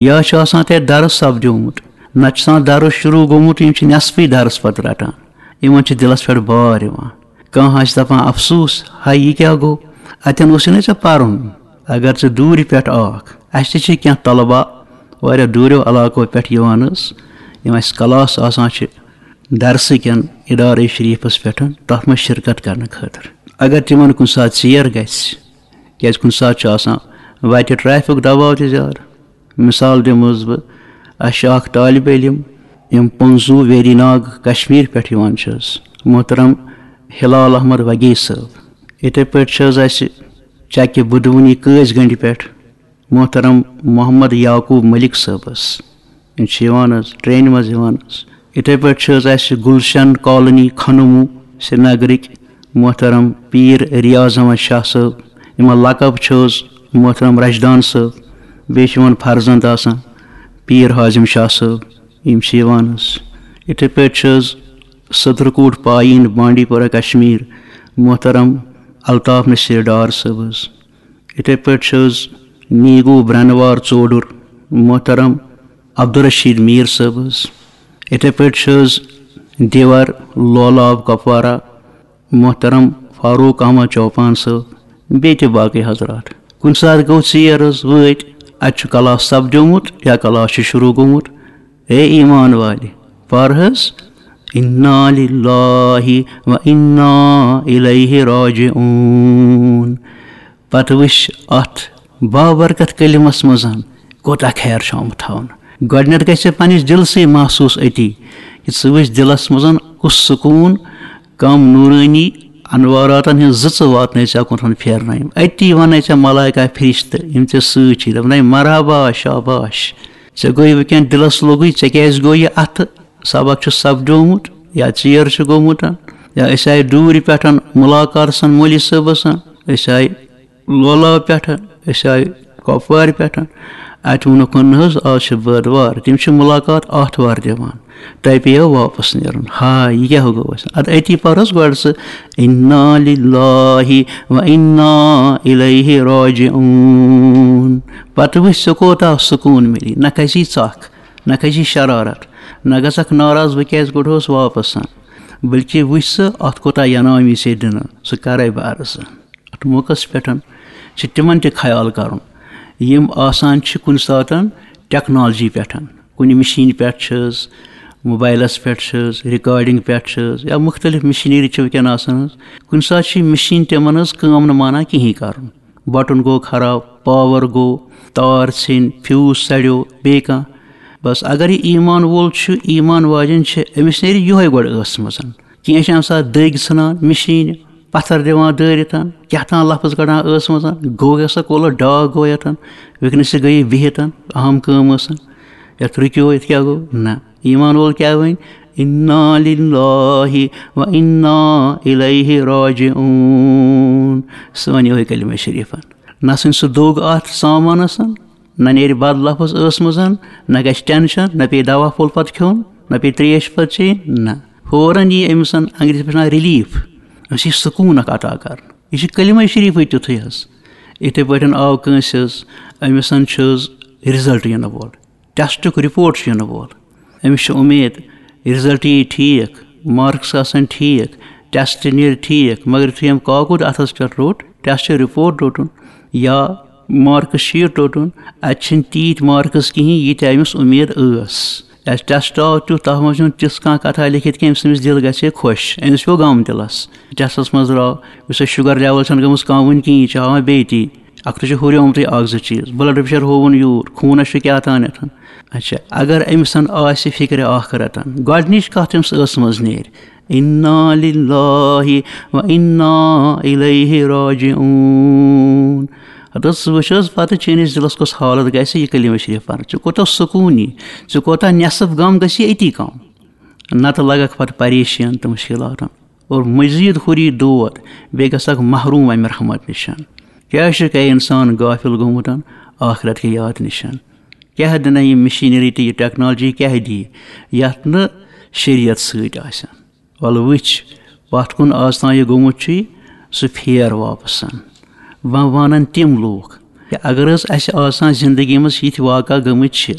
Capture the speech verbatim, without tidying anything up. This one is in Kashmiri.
یا چھُ آسان تَتہِ درس سپدیومُت، نتہٕ چھُ آسان درس شروع گوٚمُت، یِم چھِ نٮ۪صفٕے درس پتہٕ رٹان۔ یِمن چھُ دِلس پٮ۪ٹھ بار یِوان۔ کانٛہہ آسہِ دپان، افسوس، ہاے، یہِ کیٛاہ گوٚو؟ اتٮ۪ن اوسُے نہ ژےٚ پرُن۔ اگر ژٕ دوٗرِ پٮ۪ٹھ آکھ، اسہِ تہِ چھِ کینٛہہ طلبہ واریاہ دوٗریو علاقو پٮ۪ٹھ یِوان حظ، یِم اسہِ کلاس آسان چھِ درسہٕ کٮ۪ن ادارے شریفس پٮ۪ٹھ، تتھ منٛز شرکت کرنہٕ خٲطرٕ۔ اگر تِمن کُنہِ ساتہٕ ژیر گژھِ، کیازِ کُنہِ ساتہٕ چھُ آسان وتہِ ٹریفک دباو تہِ زیادٕ۔ مثال دِمہٕ حظ بہٕ، اسہِ چھُ اکھ طالب علم، یِم پنزو ویری ناگ کشمیر پٮ۪ٹھ یِوان چھِ حظ، محترم ہلال احمد وگی صٲب۔ یِتھے پٲٹھۍ چھِ حظ اسہِ چکہِ بدونی قٲضۍ گنڈِ پٮ۪ٹھ محترم محمد یعقوب ملک صٲب حظ۔ یِم چھِ یِوان حظ، ٹرینہِ منٛز یِوان حظ۔ یِتھے پٲٹھۍ چھِ حظ اسہِ گلشن کالونی کھنمو سرینگرٕکۍ محترم پیٖر ریاض احمد شاہ صٲب، یِمن لقب چھُ حظ محترم رشدان صٲب۔ بیٚیہِ چھِ یِمن فرزند آسان پیٖر حازم شاہ صٲب، یِم چھِ یِوان حظ۔ یِتھے پٲٹھۍ چھِ حظ صدرکوٹ پایین بانڈی پورہ کشمیر محترم الطاف نصیر ڈار صٲب حظ۔ یِتھے پٲٹھۍ چھِ حظ نیٖگو برٛنوار ژوڈُر محترم عبدالرشید میٖر صٲب حظ۔ یِتھے پٲٹھۍ چھِ حظ دیوار لولاب کپوارہ محترم فاروق احمد چوپان صٲب، بیٚیہِ تہِ باقٕے حضرات۔ کُنہِ ساتہٕ گوٚو ژیر حظ وٲتۍ، اتہِ چھُ کلاس سپدیومُت یا کلاس چھُ شروع گوٚمُت۔ اے ایمان والہِ، پر حظ، انا للہ و انا الیہ راجعون۔ پتہٕ وٕچھ اتھ بابرکت کلمس منٛز کوتاہ خیر چھُ آمُت تھاونہٕ۔ گۄڈٕنیتھ گژھِ ژےٚ پننِس دِلسٕے محسوس أتی کہِ ژٕ وٕچھ دِلس منٛز کُس سکوٗن، کم نورٲنی انواراتن ہٕنٛز زٕژٕ واتنٲے ژےٚ کُنتھن پھیرنٲوِم۔ أتی ونَے ژےٚ ملائکہ فرشتہٕ، یِم ژےٚ سۭتۍ چھِ، دپنَے، مرحبا، شاباش۔ ژےٚ گوٚوُے وٕنکیٚن دِلس لوٚگُے، ژےٚ کیازِ گوٚو یہِ اتھٕ؟ سبق چھُ سپدیومُت یا ژیر چھُ گوٚمُت، یا أسۍ آیہِ دوٗرِ پٮ۪ٹھ مُلاقات سان مولوی صٲبس سان، أسۍ آیہِ لولاب پٮ۪ٹھ، أسۍ آیہِ کۄپوارِ پٮ۪ٹھ۔ اتہِ ووٚنُکھ، نہ حظ، آز چھِ بٲدوار، تِم چھِ مُلاقات آتھوار دِوان، تۄہہِ پیٚیو واپس نیرُن۔ ہا، یہِ کیٛاہ گوٚو اَسہِ؟ ادٕ أتی پر حظ گۄڈٕ ژٕ، انا للہ و انا الیہ راجعون۔ پتہٕ وٕچھ ژےٚ کوتاہ سکوٗن میلی، نہ کھسی ژکھ، نہ کھسی شرارت، نہ گژھکھ ناراض، بہٕ کیازِ کوٚڑہوس واپس۔ بلکہ وٕچھ ژٕ، اتھ کوتاہ ینامی ژےٚ دِنہٕ، سُہ کرے بہٕ عرض۔ اتھ موقعس پٮ۪ٹھ چھِ تِمن تہِ خیال کرُن، یِم آسان چھِ کُنہِ ساتن ٹیکنالوجی پٮ۪ٹھ، کُنہِ مِشیٖنہِ پٮ۪ٹھ چھِ حظ، موبایلس پٮ۪ٹھ چھِ حظ، ریکارڈنگ پٮ۪ٹھ چھِ حظ، یا مختلف مِشیٖنری چھِ وٕنکیٚن آسان حظ۔ کُنہِ ساتہٕ چھِ یہِ مِشیٖن تِمن حظ کٲم نہٕ مانان کِہیٖنۍ کرُن۔ بٹن گوٚو خراب، پاور گوٚو، تار ژھیٚنۍ، فیوز سڑیو، بیٚیہِ کانٛہہ۔ بس اگر یہِ ایمان وول چھُ، ایمان واجٮ۪ن چھِ، أمِس نیرِ یِہوٚے گۄڈٕ ٲسہٕ منٛز۔ کینٛہہ چھِ اَمہِ ساتہٕ دٔگۍ ژھٕنان مِشیٖنہِ، پتھر دِوان دٲرِتھ، کیٛاہ تام لفظ کڑان ٲسہٕ منٛز، گوٚو یہِ سا کوٚلہٕ ڈاکھ گوٚو یَتھ، وٕنکیٚنَس تہِ گٔیے بِہِتھ، اہم کٲم ٲسٕن، یَتھ رُکیو، یَتھ کیٛاہ گوٚو؟ نہ، ایمان وول کیٛاہ وَنہِ؟ انا للہ و انا الیہ راجعون۔ سُہ وَنہِ یِہوٚے کلمہ شریٖفہ۔ نہ ژھٕنہِ سُہ دوٚگ اَتھ سامانَس، نہ نیرِ بد لفظ ٲسہٕ منٛز، نہ گژھِ ٹینشن، نہ پیٚیہِ دوا پھوٚل پتہٕ کھیوٚن، نہ پیٚیہِ ترٛیش پتہٕ چیٚنۍ، نہ۔ فوراً یی أمِس انگریزی پٲٹھۍ ریلیف، أمِس یی سکوٗن اکھ عطا کرنہٕ۔ یہِ چھِ کلمہ شریٖفٕے تیُتھُے حظ۔ یِتھَے پٲٹھۍ آو کٲنٛسہِ حظ، أمِس چھُ حظ رِزلٹ یِنہٕ وول، ٹیسٹُک رپورٹ چھُ یِنہٕ وول۔ أمِس چھِ اُمید رِزلٹ یی ٹھیٖک، مارکس آسن ٹھیٖک، ٹیسٹ نیرِ ٹھیٖک، مگر یُتھُے أمۍ کاکُد اَتھَس پٮ۪ٹھ روٚٹ، ٹیسٹ رپورٹ روٚٹُن یا مارکس شیٖٹ روٚٹُن، اَتہِ چھِنہٕ تیٖتۍ مارکس کِہیٖنۍ، ییٖتیٛاہ أمِس اُمید ٲس۔ اَسہِ ٹیسٹ آو تیُتھ، تَتھ منٛز چھُنہٕ تِژھ کانٛہہ کَتھا لیکھِتھ کینٛہہ، ییٚمہِ سۭتۍ أمِس دِل گژھِ ہے خۄش۔ أمِس پیوٚو غم دِلَس۔ ٹیسٹَس منٛز درٛاو، یُس اَسہِ شُگر لیوَل چھَنہٕ گٔمٕژ کَم وٕنہِ کِہیٖنۍ، یہِ چھِ ہاوان بیٚیہِ تی۔ اَکھ تہِ چھُ ہُریومتُے اَکھ زٕ چیٖز، بٕلڈ پریشر ہووُن یوٗر، خوٗنَس چھُ کیٛاہ تانٮ۪تھ۔ اچھا، اگر أمِس آسہِ فِکرِ آخرت، گۄڈٕنِچ کَتھ أمِس ٲسہٕ منٛز نیرِ، انا للہ و انا الیہ راجعون۔ ہتہٕ ژٕ وٕچھ حظ پتہٕ چٲنِس دِلس کۄس حالت گژھِ یہِ کلمہ شریٖف پرنہٕ۔ ژےٚ کوٗتاہ سکوٗن یی، ژےٚ کوٗتاہ نٮ۪صٕف غم گژھی أتی کم۔ نتہٕ لگکھ پتہٕ پریشان تہٕ مُشکلاتن۔ اور مزید ہُری دود، بیٚیہِ گژھکھ محروم امہِ رحمت نِش۔ کیٛاہ چھُ کیٛاہ انسان غافل گوٚمُت آخرت کہِ یاد نِش؟ کیٛاہ دِنہ یہِ مشینری تہٕ یہِ ٹیکنالوجی کیٛاہ دِیہِ یتھ نہٕ شریعت سۭتۍ آسہِ؟ وَلہٕ وٕچھ، پَتھ کُن آز تام یہِ گوٚمُت چھُے، سُہ پھیر واپَس۔ وۄنۍ وَنَن تِم لوٗکھ، کہِ اگر حظ اَسہِ آسان زندگی منٛز یِتھۍ واقعہ گٔمٕتۍ چھِ،